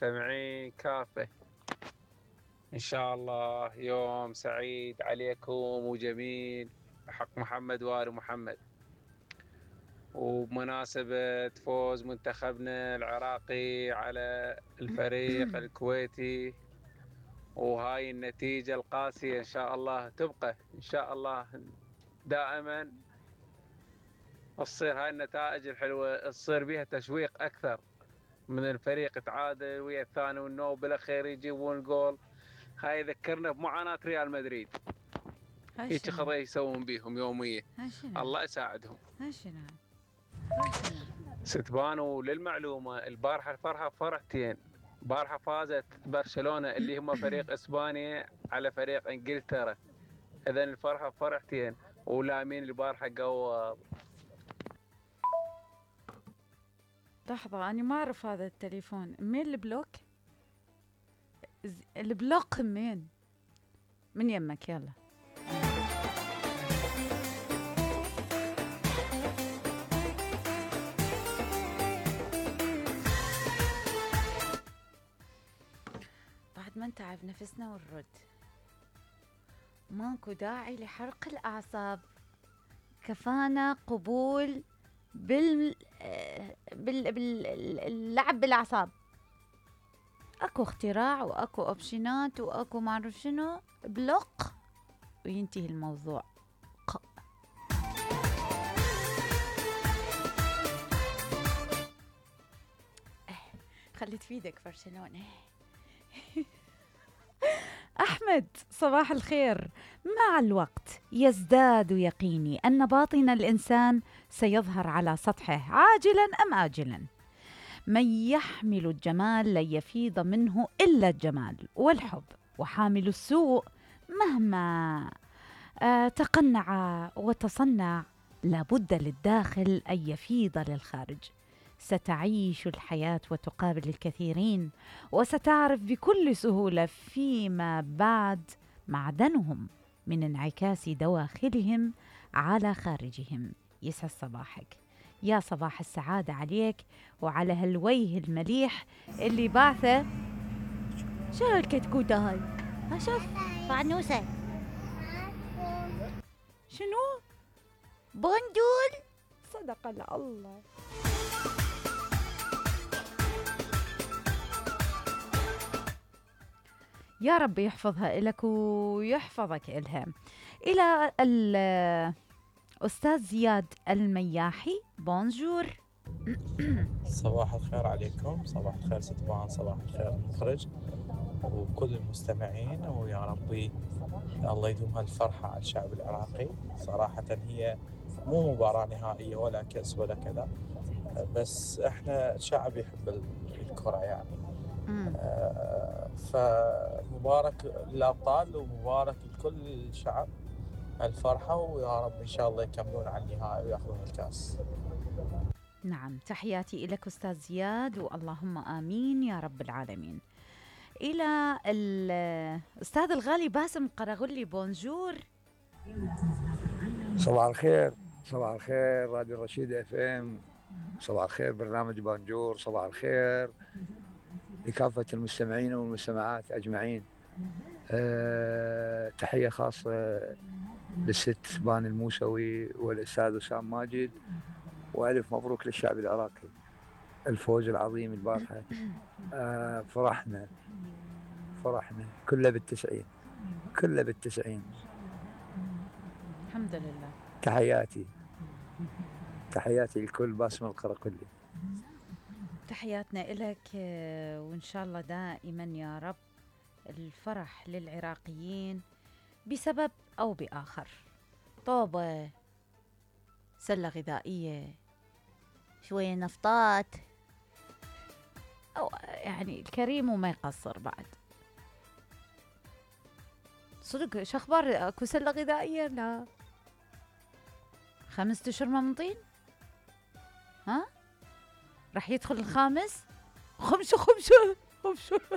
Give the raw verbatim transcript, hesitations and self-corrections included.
المستمعين كافة. إن شاء الله يوم سعيد عليكم وجميل بحق محمد وآل محمد، وبمناسبة فوز منتخبنا العراقي على الفريق الكويتي، وهاي النتيجة القاسية إن شاء الله تبقى إن شاء الله دائما تصير هاي النتائج الحلوة تصير بها تشويق أكثر من الفريق تعادل ويا الثاني والنو بالأخير يجيبون جول. هاي يذكرنا بمعاناة ريال مدريد، هيك خطأ يسوون بيهم يوميا. الله يساعدهم. ستبان. وللمعلومة البارحة الفرحة فرحتين، بارحة فازت برشلونة اللي هم فريق اسبانيا على فريق انجلترا، اذا الفرحة فرحتين ولامين البارحة قوى. لحظة أنا ما أعرف هذا التليفون، مين البلوك؟ البلوك مين؟ من يمك يلا. بعد ما نتعب نفسنا ونرد، ماكو داعي لحرق الأعصاب، كفانا قبول بال بال باللعب بالأعصاب. اكو اختراع واكو اوبشنات واكو ما اعرف شنو، بلوك وينتهي الموضوع. خليت في ايدك برشلونة. أحمد صباح الخير. مع الوقت يزداد يقيني أن باطن الإنسان سيظهر على سطحه عاجلا أم آجلا. من يحمل الجمال لن يفيض منه إلا الجمال والحب، وحامل السوء مهما آه تقنع وتصنع لابد للداخل أن يفيض للخارج. ستعيش الحياة وتقابل الكثيرين، وستعرف بكل سهولة فيما بعد معدنهم من انعكاس دواخلهم على خارجهم. يسعد صباحك، يا صباح السعادة عليك وعلى هالوجه المليح اللي بعثه. شو الكتكوتة هاي؟ ها شوف فانوسة. شنو؟ بندول. صدق الله. يا رب يحفظها إلك ويحفظك إلها. إلى الأستاذ زياد المياحي، بونجور. صباح الخير عليكم، صباح الخير ستبان، صباح الخير المخرج وكل المستمعين، ويا ربي الله يدوم هالفرحة على الشعب العراقي. صراحة هي مو مباراة نهائية ولا كأس ولا كذا، بس احنا شعب يحب الكرة يعني. آه فمبارك للأبطال ومبارك لكل الشعب الفرحة، ويا رب إن شاء الله يكملون على النهائي ويأخذون الكاس. نعم، تحياتي إليك أستاذ زياد، واللهم آمين يا رب العالمين. إلى الأستاذ الغالي باسم قرغلي، بونجور. صباح الخير، صباح الخير راديو رشيد اف ام، صباح الخير برنامج بونجور، صباح الخير لكافة المستمعين والمستمعات أجمعين. أه تحية خاصة للست بان الموسوي والأستاذ وسام ماجد، وألف مبروك للشعب العراقي الفوز العظيم البارحة. أه فرحنا فرحنا كله بالتسعين، كله بالتسعين. الحمد لله. تحياتي تحياتي لكل باسم القرقلي. تحياتنا إلك، وإن شاء الله دائما يا رب الفرح للعراقيين بسبب أو بآخر. طوبة، سلة غذائية، شوية نفطات، أو يعني الكريم وما يقصر بعد. صدق شخبار اكو سلة غذائية؟ لا، خمسة اشهر ما منطين. ها راح يدخل الخامس. خمسة خمسة خمسة